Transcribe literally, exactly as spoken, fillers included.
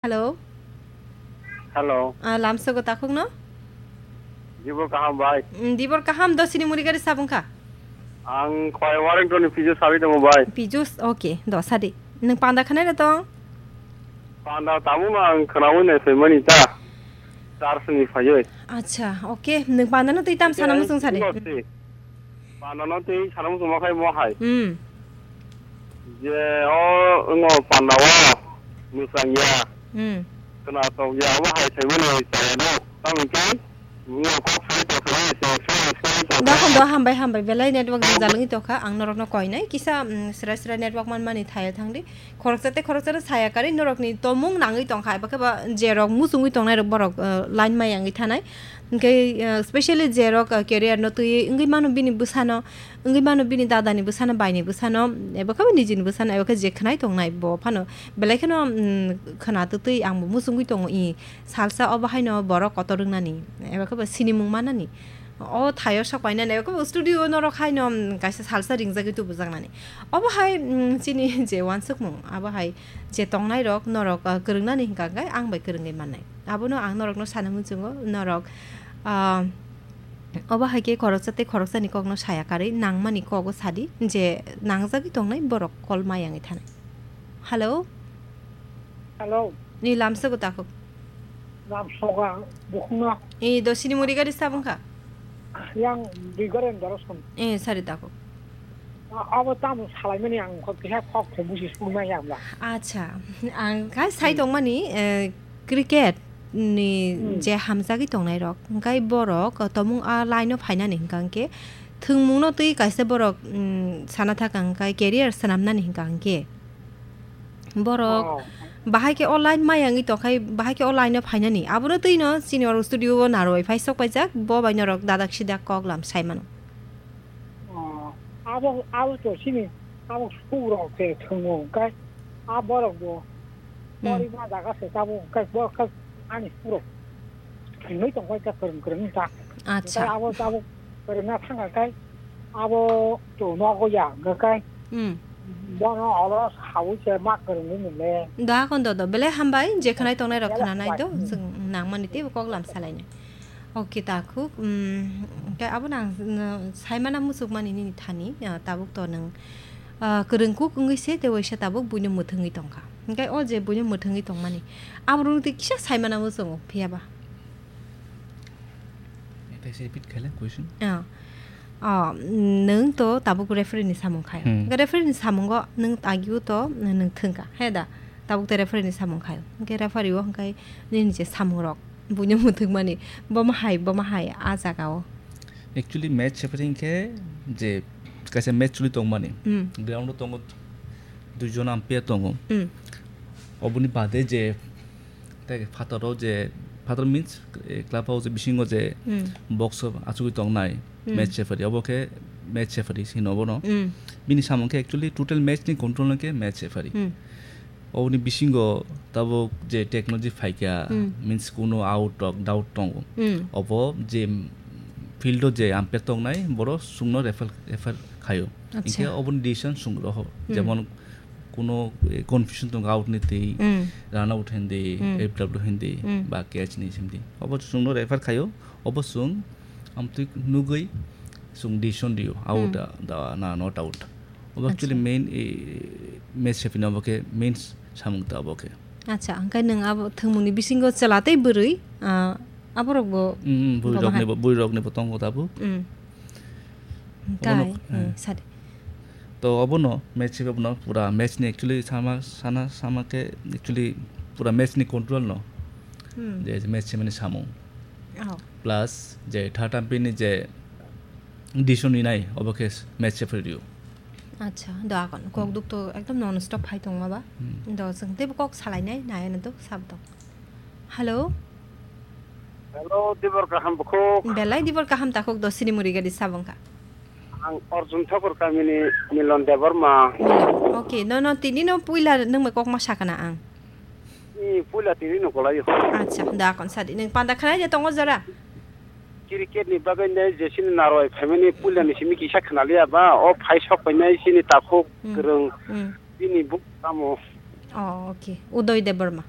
Hello. Hello. Ah, lamsogo takhukno? Dibor kaham bai. Mm, dibor kaham, do sini muri gari sabung kha? Ang khwai Warrington ni Pijus sabi tongo bai. Pijus, okay, do sadi. Nwng panda khanai da tong? Panda tamo no ang khwnawi nai phaimani ta. Church ni phaiwi. Acha, okay. Nwng panda no twi tam sana muchung sadi. Panda no twi sana muchung ma khai mo hai. Hmm. Je o ngo panda o mwsangya. Hmm. Khwnatok ya obo hai phaimani chaya no. Tamoni khe Dakon do hambai hambai belai network jwngjal wngwi tongkha, ang norokno koinai kisa, mm, sra sra network manmani thaya thangdi, khoroksa tei khoroksa no saya karwi norokni tomung nangwi tongkha, eba khe ba je rok muchungwi tongnai rok borok, uh, line mai yangwi thanai, hwnkhe, uh, specially je rok, uh, career no twiwi wngwi mano bini bwsano, wngwi mano bini dadani bwsano, baini bwsano, eba khe ba nijini bwsano, eba khe je khwnai tongnai bo phano belai kheno, mm, khwna twtwi ang bo muchungwi tongo i. Salsa obo haino borok kotor wngnani, eba khe bo sinimung manani. O thaio sok painani, eba khe bo studio norok haino, mm, kaisa salsa ringjagwi tubujaknani. Obo hai, mm, chini je uansukmung, abo hai je tongnairok norok, ah, kwrwngnani hwnkha hwnkhe ang bai kwrwngwi mannai. Abono ang norokno sana muchungo, norok, ah, obo hai khe khoroksa tei khoroksani kokno saya karwi nangmani kogo sadi je nangjagwi tongnai borok kol ma yangwi thanai. Hello? Hello. Ni lamsogo takhuk. Lamsoga bukhungno. E, do sini muri gari sabung kha? Yang di gari ndoro som. E, sari takhuk. A-, abo tamo salaimani ang kok keha kok khe busi sungma ya ba. Acha, ang khai sai Hmm. tongmani, eh, cricket ni Hmm. je hamjagwi tongnai rok, hwnkhe borok tomung a line o phainani hwnkha hwnkhe thwngmungno twi kaisa borok, mm, sana thaka hwnkhe career swnamnani hwnkha hwnkhe. Borok Oh. bahai khe o line ma yangwi tongkhai, bahai khe o line o phainani. Abono twino chini oro studio o narwai phai sok paijak, bo bai norok dadak sidak kok lam sai mano. Oh, abo, abo to sini, abo sukurok se thwngo, hwnkhe a borok bo Hmm. pori ma jaga se tabo, hwnkhe bo khe ani sukurok thwngwi tongkhai khe kwrwng kwrwng wngkha. Acha. Hwnkhe abo tabo kwrwngna thangkha khe abo to nogo ya, hwnkhe Hmm. bono olo saui se ma kwrwngwi nile. Da kon do do, belai hambai, je khwnai tongnai rok khwnanai do, Hmm. chwng nangmani teibo kok lam salainai. Okay, takhuk, mm, hwnkhe abono ang, mm, saimana muchukmani nini thani, ah, tabuk to nwng, ah, kwrwngkuk wngwi se tei waisa tabuk buino mwthwngwi tongkha. Hwnkhe o je buino mwthwngwi tongmani, aborokno tei kisa saimana muchungo, phiya ba? Tei se repeat khaile question? Ah. Ah, nwng to tabuk referee ni samung khaio. Hmm. Hwnkhe referee ni samungo nwng agio to nwng thwngkha, he da? Tabuk to referee ni samung khaio. Hwnkhe referee o hwnkhe nini je samungrok, buino mwthwkmani, bomo hai, bomo hai, a jaga o. Actually, match referee khe je kaisa match choli tongmani, Hmm. ground o tongo, duijon umpire tongo. Hmm. Oboni bade je, tei phataro je, phatar means, eh, club house bisingo je Hmm. box o achugwi tongnai Hmm. match referee, obo khe match referee hino obono. Hmm. Bini samung khe actually total match ni control no khe match referee. Hmm. Oboni bisingo tabuk je technology phaikha, Hmm. means kuno out rok doubt tongo. Hmm. Obo je field o je umpire tongnai, boro chwngno refer, refer khaio. Acha. Hinkhe oboni decision chwng roho. Hmm. Jemon kuno, eh, confusion tongo out ni twi, Hmm. run out hindi, Hmm. F W hindi, Hmm. ba catch ni hindi. Obo chwngno refer khaio, obo chwng amtwi nugwi chwng decision rio, out Hmm. da, da, na not out. Obo actually Acha. main, eh, match referee ni obo khe main samung ta obo khe. Acha, hwnkhe nwng abo thwngmungni bisingo chwla tei bwrwi, ah, aborok bo Mm, mm, bwrwi rokni bo, bwrwi rokni bo tongo tabuk. Mm. Obono, Kai, eh. eh, sadi. To obono match hiba bono pura match ni actually sama, sana, sama khe actually pura match ni control no. Hmm. Je match mani samung. Oh. Plus je third umpire ni je decision ni nai obo khe match referee rio. Acha, do akon. Kok Hmm. duk to ekdom non stop hai tongma ba. Hmm. Do chwng teibo kok salai nai, nai ano do sab do. Hello? Hello, Dibor kaham bukhuk. Belai Dibor kaham takhuk do sini muri gadi sabong kha. Ang Arjun Thakur kamini Milon Debbarma. Milon. Okay, no, no, tini no puila nung me kok ma sakana ang. Ni puila tini no kolayo. Acha, da kon sadi nung panda khanai de tongo jora. Cricket ni bagwi nai jesini narwai phaimani puila ni simi kisa khanaliya ba, o phai sok painai sini takhuk Hmm. kwrwng. Hmm. Bini buk tamo. Oh, okay. Udoy Debbarma.